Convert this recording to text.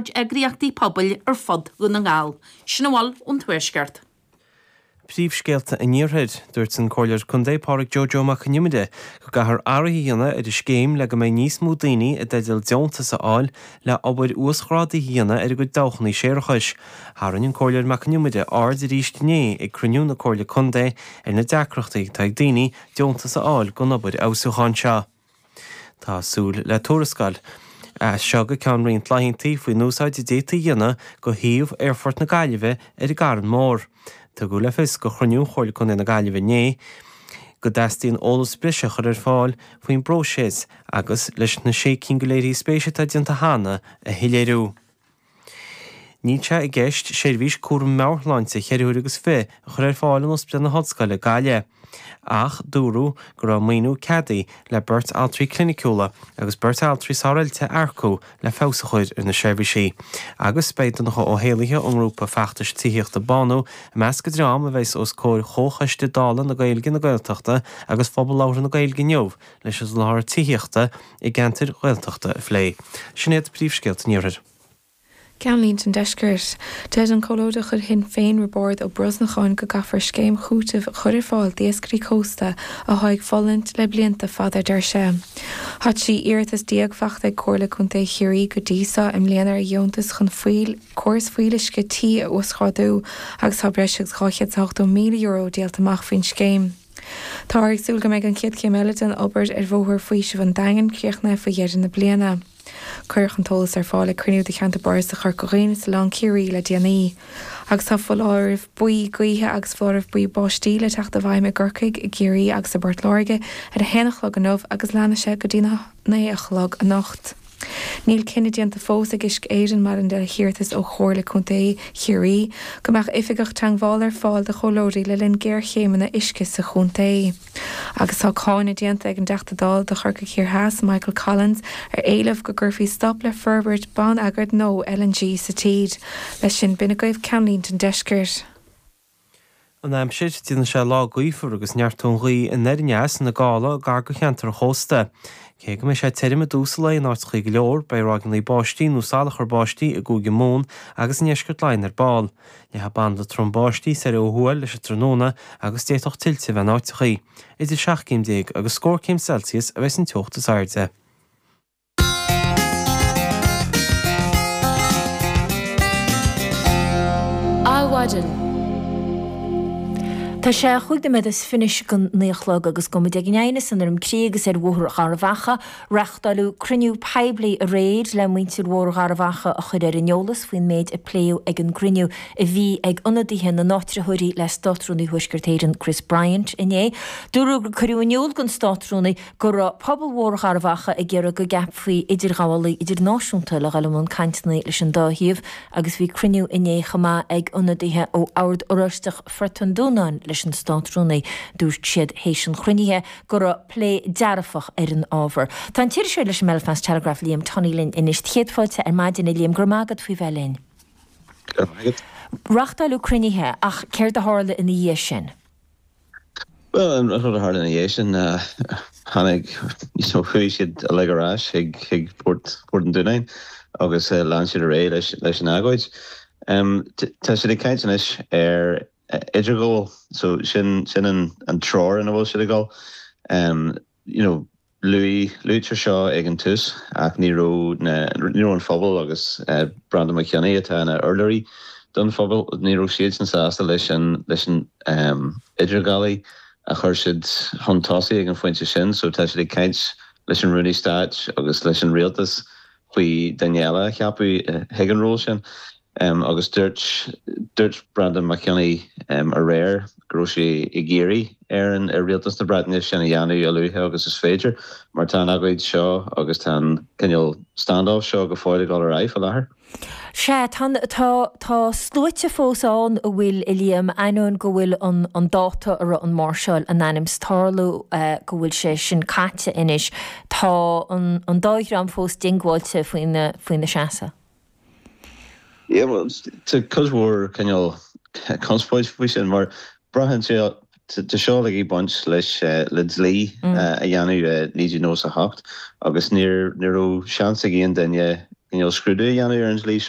Eagraíochtaí pobail ar fud Dhún na nGall. Sin a bhfuil ón Tuaisceart. Príomhscéalta an Iarthair. Dúirt an Comhairleoir Contae Pádraig Joe Joe Mac Con Iomaire go gcaithfear athruithe a dhéanamh ar an scéim le go mbeidh níos mó daoine i dteideal deontas a fháil le obair uasghrádaithe a dhéanamh ar a gcuid dabhchanna séarachais. Tharraing an Comhairleoir Mac Con Iomaire aird arís inné ag cruinniú na Comhairle Contae ar na deacrachtaí atá ag daoine deontas a fháil don obair fheabhsúcháin seo. Tá súil le tuarascáil as seo go ceann roinnt laethanta faoin úsáid a d'fhéadfaí a dhéanamh de shuíomh Aerfort na Gaillimhe ar an gCarn Mór. Tugadh le fios ag cruinniú Chomhairle Contae na Gaillimhe inné go dteastaíonn eolas breise a chur ar fáil faoin bpróiseas agus leis na sé cinn de léirithe spéise atá déanta cheana a shoiléiriú. Níl sé i gceist seirbhís cúram meabhairshláinte cheithre huaire agus fi a chur ar fáil in Ospidéal na hOllscoile, Gaillimh. Ach dúradh go raibh maoiniú ceadaithe le beirt altraí cliniciúla agus beirt altraí sároilte a earcú le feabhas a chur ar na seirbhísí. Agus beidh Donncha Ó hÉallaithe ón ngrúpa feachtais tithíochta Bánú i measc an dream a bheas os comhair Chomhchoiste Dála na Gaeilge, na Gaeltachta agus Phobal Labhartha na Gaeilge inniu leis an soláthar tithíochta i gceantair Ghaeltachta a phlé. Sin iad príomhscéalta an Iarthair. Ceannlínte an Deiscirt. Deir an Comhairleoir de chuid Shinn Féin Roibeárd Ó Brosnacháin go gcaithfear scéim chúitimh a chur ar fáil d'iascairí cósta atá ag fulaingt le blianta fada a deir sé. Tá 13 iarratas faighte ag Comhairle Contae Chiarraí go dtí seo i mbliana ar dheontas chun fuíll córas fuíolluisce tí a uasghrádú agus tá breis agus €280,000 díolta amach faoin scéim. Táthar ag súil go mbeidh an chéad chéim eile den obair ar Bhóthar Faoisimh an Daingin críochnaithe faoi dheireadh na bliana. Cuireadh an t-eolas ar fáil ag cruinniú de Cheantar Bardasach Chorca Dhuibhne is Oileán Ciarraí le déanaí. Agus tá foláireamh buí gaoithe agus foláireamh buí báistí le teacht i bhfeidhm i gCorcaigh, i gCiarraí agus i bPort Láirge ar a haon a chlog inniu agus leanfaidh sé go dtí a naoi a chlog anocht. Níl cinneadh déanta fós ag Uisce Éireann maidir le hiarratas ó Chomhairle Contae Chiarraí go mbeadh oifigeach teagmhála ar fáil do chomhairleoirí le linn géarchéimeanna uisce sa chontae. Agus tá cáineadh déanta ag an dTeachta Dála do Chorcaigh Thiar Theas, Michael Collins, ar éileamh go gcuirfí stop le forbairt bonneagair nua LNG sa tír. Leis sin, b'in agaibh ceannlínte an deiscirt. An aimsir, Déanfaidh sé lá gaofar agus neartóidh an ghaoth anoir aneas ina gála gar do cheantar an chósta. Cé go mbeidh sé tirim i dtús an lae in áiteachaí go leor, beidh ráigeanna báistí nó salachar báistí i gCúige Mumhan agus i ndeisceart Laighean ar ball. Leathfaidh banda trom báistí soir ó thuaidh leis an tráthnóna agus d'fhéadfadh tuilte a bheith in áiteachaí. Idir 17 céim agus scór céim Celsius a bheas an teocht is airde. Adhmhaidin. Tá sé chúig nóiméad is fiche go naoi a chlog agus gabhfaidh muid ag an Aighneas in Droim Crí agus ar Bhóthar Gharbh Achaidh. Reachtáileadh cruinniú poiblí aréir le muintir Bhóthar Gharbh Achaidh a chur ar an eolas faoin méid a pléadh ag an gcruinniú a bhí ag ionadaithe na n-áitritheoirí le Státrúnaí Thuaisceart Éireann Chris Bryant inné. Dúradh gur cuireadh in iúl don Státrúnaí go raibh pobal Bhóthar Gharbh Achaidh ag iarraidh go gceapfaí idirghabhálaí idirnáisiúnta le dhul i mbun cainteanna leis an dá thaobh agus bhí cruinniú inné chomh maith ag ionadaithe ó Ord Oráisteach Phort an Dúnáin leis an Státrúnaí. Dúirt siad théis an chruinnithe go raibh plé dearfach ar an ábhar. Tá an t-iriseoir leis an mBelfast Telegraph Liam Tunney linn anois. Céad fáilte ar maidin a Liam, go raibh maith agat faoi bheith linn. Go raibh maith agat. Reachtáileadh cruinnithe ach céard a tharla ina dhiaidh sin? Bhuel, an rud a tharla ina dhiaidh sin ná tháinig, you know, chuaigh siad uilig ar ais chuig, chuig Port, Port an Dúnáin agus lean siad ar aghaidh leis, leis an agóid. Tá siad ag caint anois ar idirghabháil, so sin, sin an, an treoir ina bhfuil siad ag dul. You know, Luadh, luaitear seo ag an tús ach ní raibh na, ní raibh an phobal agus Breandán Mac Cionnaith atá ina urlabhraí don phobal, ní raibh siadsan sásta leis an, leis an idirghabhálaí a chuir siad chun tosaigh ag an phointe sin so tá siad ag caint leis an Rúnaí Stáit agus leis an Rialtas faoi duine eile a cheapadh chuig an ról sin. Agus dúirt, dúirt Breandán Mac Cionnaith aréir go raibh sé ag iarraidh ar an, ar Rialtas na Breataine sin a dhéanamh a luaithe agus is féidir mar tá an agóid seo agus tá an cineál stand-off seo go fóill ag dul ar aghaidh faoi láthair. Sea, tá, tá, tá sluaite fós ann a bhfuil, a Liam, ainneoin go bhfuil an, an dáta a raibh an máirseáil in ainm 's tarlú, go bhfuil sé sin caite anois, tá an, an dá dhream fós diongbháilte faoina, faoina seasamh. Yeah, well, tá cuid mhór cineál conspóid faoi sin mar braitheann sé, tá seo uilig ag baint leis le dlí a dhéanamh i 1998 agus níor, ní raibh seans ag aon duine. cineál scrúdú a dhéanamh ar an dlí seo.